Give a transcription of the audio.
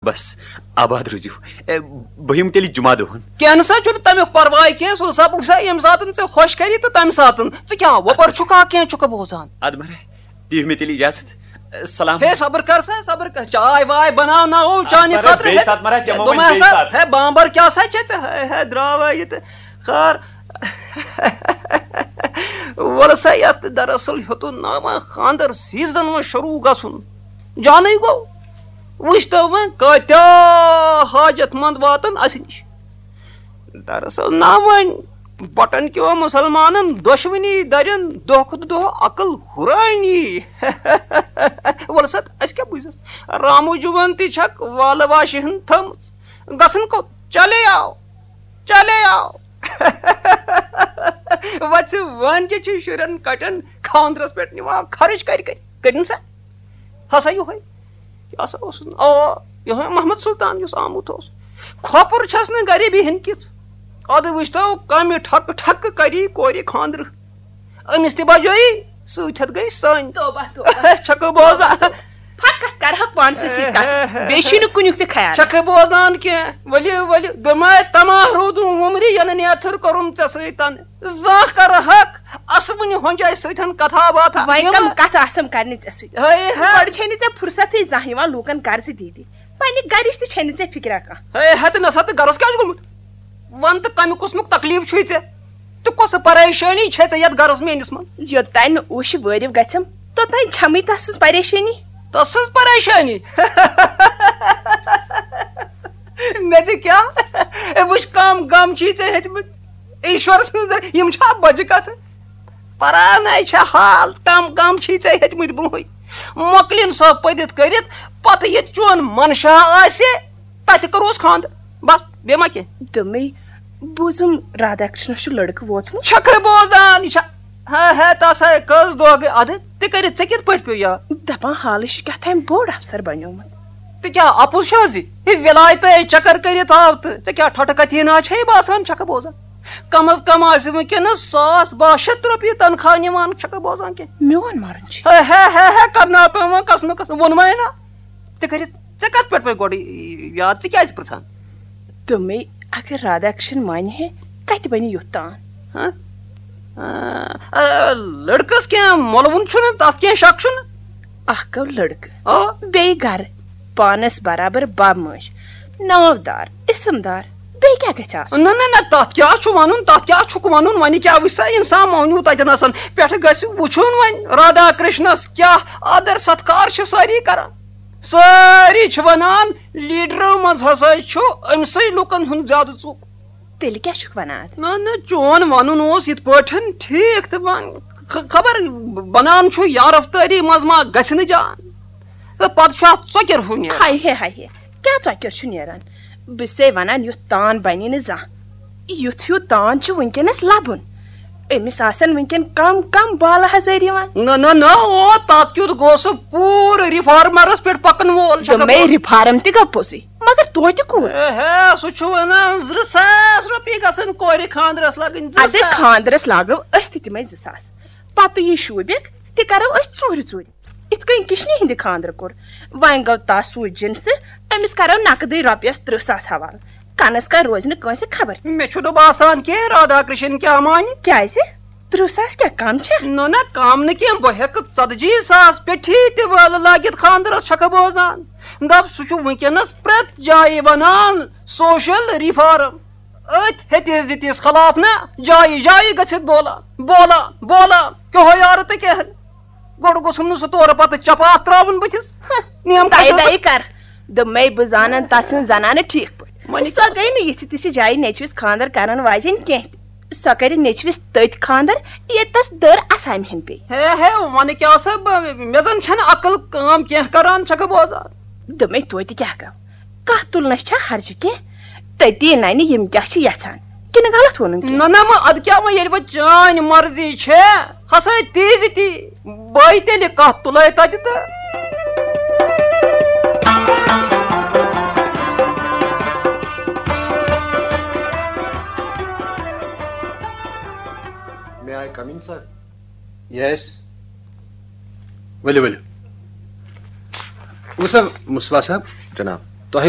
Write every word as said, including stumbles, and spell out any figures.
بس، آباد روٗزِو۔ اے، بہٕ یِمہٕ تیٚلہِ جمعہ دۄہن۔ کینٛہہ نسا چھُنہٕ تمیُک پرواے کینٛہہ، سُہ دپُکھ سا ییٚمہِ ساتن ژےٚ خۄش کری تہٕ تمہِ ساتن۔ ژٕ کیٛاہ وۄپر چھُکھا کینٛہہ چھُکھٕ بوزان؟ ادٕ مہراہ، دِیِو مےٚ تیٚلہِ اجازت۔ سلام۔ ہے صبر کر سا، صبر کر، چاے واے بناو نہ او چانہِ مہراہ، خٲطرٕ۔ بیٚیہِ ہے، ساتہٕ مہراہ چٮ۪مو وۄنۍ دوٚپمَے بیٚیہِ ہسا، ساتہٕ۔ ہے بامبر کیٛاہ سا چھے ژےٚ؟ ہے، ہے، درٛاوا یہِ تہٕ خار۔ وَلہٕ سا یَتھ دراصل ہیوٚتُن ناوان خانٛدر سیٖزن وۄنۍ شروٗع گژھُن۔ جانٕے گوٚو، وٕچھ تو وۄنۍ کٲتیٛاہ حاجت مند واتن اَسہِ نِش۔ دراصل نا وۄنۍ بٹن کیو مسلمانن دۄشوٕنی درٮ۪ن دۄہ کھۄتہٕ دۄہ عقل ہُرٲنی۔ وَلہٕ سا، اَسہِ کیٛاہ بوٗزِس؟ رامو جُوَن تہِ چھکھ والہٕ واشہِ ہٕن تھٲمٕژ۔ گژھن کوٚت؟ چلے آو، چلے آو۔ وَژھِ وٲنجہِ چھِ شُرٮ۪ن کَٹٮ۪ن خانٛدرَس پٮ۪ٹھ نِوان خرٕچ کَرِ کَرِ۔ کٔرِن سا؟ ہسا یِہوٚے۔ یہِ ہسا اوسُس نہٕ، آ، یِہوٚے محمد سُلطان یُس آمُت اوس۔ کھۄپُر چھَس نہٕ غریٖبی ہٕنٛدۍ کِژھ۔ اَدٕ وٕچھتو کَمہِ ٹھۄکہٕ ٹھۄکہٕ کَری کورِ خانٛدرٕ۔ أمِس تہِ بجٲیی، سۭتۍ ہٮ۪تھ گٔے سٲنۍ۔ توبہ، توبہ۔ چھکھٕ بوزان؟ فقط کرہکھ پانسٕے سۭتۍ کتھ، بیٚیہِ چھُے نہٕ کُنیُک تہِ خیال۔ چھکھٕ بوزان کینٛہہ؟ ؤلِو، ؤلِو، دوٚپمَے تماہ روٗدُم وُمرِ، ینہٕ نیتھٕر کوٚرُم ژےٚ سۭتۍ تنہٕ۔ زانٛہہ کرہکھ اسوٕنہِ ہۄنجہِ سۭتۍ کتھا باتھا؟ وۄنۍ یِم کم کتھ آسم کرنہِ ژےٚ سۭتۍ؟ ہے ہے۔ گۄڈٕ چھے نہٕ ژےٚ فرصتٕے زانٛہہ یِوان لوٗکن قرضہٕ دِتھ۔ پننہِ گرِچ تہِ چھے نہٕ ژےٚ فکرا کانٛہہ۔ ہے ہتہٕ نہ ستہٕ گرس کیٛاہ چھُ گوٚمُت؟ ون تہٕ کمہِ قٕسمُک تکلیٖف چھُے ژےٚ؟ تہٕ کۄسہٕ پریشٲنی چھے ژےٚ یتھ گرس میٲنِس منٛز؟ یوٚتانۍ نہٕ اوشہِ وٲرِو گژھٮ۪م، توٚتانۍ چھمٕے تس سٕنٛز پریشٲنی۔ تس سٕنٛز پریشٲنی؟ مےٚ ژےٚ کیٛاہ؟ ہے وٕچھ، کم غم چھی ژےٚ ہیٚتمٕتۍ۔ ایشور سٕنٛز یِم چھا بجہِ کتھٕ؟ پرانَے چھےٚ حال، کم کم چھی ژےٚ ہیٚتمٕتۍ برونٛہٕے۔ مۄکلِن سۄ پٔدِتھ کٔرِتھ، پتہٕ ییٚتہِ چون منشا آسہِ، تتہِ کروس خانٛدر۔ بس، بیٚیہِ ما کینٛہہ؟ دوٚپمَے، بوٗزُم رادھاکرشنس چھُ لڑکہٕ ووتمُت۔ چھکھے بوزان، یہِ چھا؟ ہے ہے، تس ہے کٔژ دۄہ گٔے۔ ادٕ تہِ کٔرِتھ ژےٚ کِتھ پٲٹھۍ پیوٚو یاد؟ دپان حالٕے چھُ کیٛاہ تام بوٚڑ افسر بنیومُت۔ تہٕ کیٛاہ اپُز چھُ حظ یہِ؟ یہِ ولایتَے چکر کٔرِتھ آو تہٕ ژےٚ کیٛاہ ٹھۄٹہٕ کتھی نا چھے باسان؟ چھکھٕ بوزان؟ کم از کم آسہِ وٕنکیٚنس ساس باہ شیٚتھ رۄپیہِ تنخواہ نِوان، چھکھٕ بوزان کینٛہہ؟ میون مرُن چھُ۔ ہے ہے ہے ہے، کرناو تام وۄنۍ قسمہٕ قسمہٕ، ووٚنمَے نا۔ تہِ کٔرِتھ ژےٚ کتھ پٮ۪ٹھ پے گۄڈٕ یاد؟ ژٕ کیٛازِ پرژھان؟ دوٚپمَے، اگر رادھاکرشن مانہِ ہے، کتہِ بنہِ یُتھ تان؟ ہاں؟ آ، آ، لڑکس کینٛہہ مۄلوُن چھُنہٕ، تتھ کینٛہہ شک چھُنہٕ۔ اکھ گوٚو لڑکہٕ، آ۔ بیٚیہِ گرٕ، پانس برابر بب مٲج، ناودار، اسمدار، بیٚیہِ کیٛاہ گژھِ آسُن؟ نہ، نہ، نہ، تتھ کیٛاہ چھُ ونُن، تتھ کیٛاہ چھُکھ ونُن؟ وۄنۍ کیٛاہ وٕچھ سا انسان مٲنِو تتٮ۪ن آسان، پٮ۪ٹھٕ گژھِ وٕچھُن وۄنۍ رادھا کرشنس کیٛاہ آدر ستکار چھِ سٲری کران۔ سٲری چھِ ونان، لیڈرو منٛز ہسا چھُ أمۍ سٕے لُکن ہُنٛد زیادٕ ژوٚک۔ تیٚلہِ کیٛاہ چھُکھ ونان اتھ؟ نہ، نہ، چون ونُن اوس یِتھ پٲٹھۍ ٹھیٖک تہٕ وۄنۍ خ-، خبر بنان چھُ یا رفتٲری منٛز ما گژھِ نہٕ جان۔ تہٕ پتہٕ چھُ اتھ ژۄکیر ہیوٗ نیران۔ ہاے ہے، ہاے ہے، کیٛاہ ژۄکیر چھُ نیران؟ بہٕ چھسے ونان، یُتھ تان بنی نہٕ زانٛہہ۔ یُتھ ہیوٗ تان چھُ وٕنکیٚنس لبُن۔ أمِس آسن وٕنکیٚن کم کم بالہٕ ہزٲرۍ یِوان۔ نہ، نہ، نہ، او، تتھ کیُتھ گوٚو سُہ پوٗرٕ ریفارمرس پٮ۪ٹھ پکن وول چھکھٕ دوٚپمَے، بوزان۔ ریفارم تہِ گوٚو پوٚزُے، مگر توتہِ کوٗت؟ ہے، ہے، سُہ چھُ ونان، زٕ ساس رۄپیہِ گژھن کورِ خانٛدرس لگٕنۍ، زٕ ادٕ ساس۔ خانٛدرس لاگو أسۍ تہِ تِمے زٕ ساس، پتہٕ یہِ شوٗبِکھ، تہِ کرو أسۍ ژوٗرِ ژوٗرِ۔ یِتھ کٔنۍ کِشنہِ ہِنٛدِ خانٛدرٕ کوٚر، وۄنۍ گوٚو تس سوٗزۍ جِنسہٕ، أمِس کرو نقدٕے رۄپیس ترٕٛہ ساس حوالہٕ۔ کنس کر روزِ نہٕ کٲنٛسہِ خبر۔ مےٚ چھُنہٕ باسان کینٛہہ رادھا کرشن کیٛاہ مانہِ۔ کیٛازِ؟ ترٕٛہ ساس کیٛاہ کم چھا؟ نہ، نہ، کم نہٕ کینٛہہ، بہٕ ہٮ۪کہٕ ژتجی ساس پٮ۪ٹھی تہِ وٲلہٕ لٲگِتھ خانٛدرس، چھکھٕ بوزان۔ دپ، سُہ چھُ وٕنکیٚنس پرٛٮ۪تھ جایہِ ونان، سوشل ریفارم۔ أتھۍ ہیٚتِس دِتِس خلاف نہ جایہِ جایہِ گٔژھِتھ بولان، بولان، بولان، کیٛاہ ہو یارٕ تہٕ کیٛاہ نہٕ۔ گۄڈٕ گوٚژھُم نہٕ سُہ تورٕ پتہٕ چپاکھ ترٛاوُن بٕتھِس۔ ہہ، نیم دَے کھسٮ۪س۔ دَے کر۔ دوٚپمَے، بہٕ زانَن تَس سٕنٛز زنانہٕ ٹھیٖک پٲٹھۍ۔ وۄنۍ سۄ کیٛاہ؟ گٔے نہٕ یِژھِ تِژھِ جایہِ نیٚچوِس خانٛدر کرن واجیٚنۍ کینٛہہ تہِ۔ سۄ کرِ نیٚچوِس تٔتۍ خانٛدر، ییٚتہِ تَس دٔر اسامہِ ہن پیٚیہِ۔ ہے ہے، وۄنۍ کیٛاہ سا بہٕ، مےٚ زن چھنہٕ عقل کٲم کینٛہہ کران، چھکھٕ بوزان۔ دوٚپمَے، توتہِ کیٛاہ گوٚو؟ کتھ تُلنس چھا حرجہِ کینٛہہ؟ تٔتی ننہِ یِم کیٛاہ چھِ یژھان۔ کِنہٕ غلط ووٚنُم کینٛہہ؟ نہ، نہ، وۄنۍ ادٕ کیٛاہ، وۄنۍ ییٚلہِ وۄنۍ چٲنۍ مرضی چھےٚ، ہسا تیزِ تی، بہٕ تیٚلہِ کتھ تُلے تتہِ تہٕ۔ May I come in, sir? Yes. ؤلِو، ؤلِو۔ وۄنۍ سا مصباح صٲب۔ جناب۔ تۄہہِ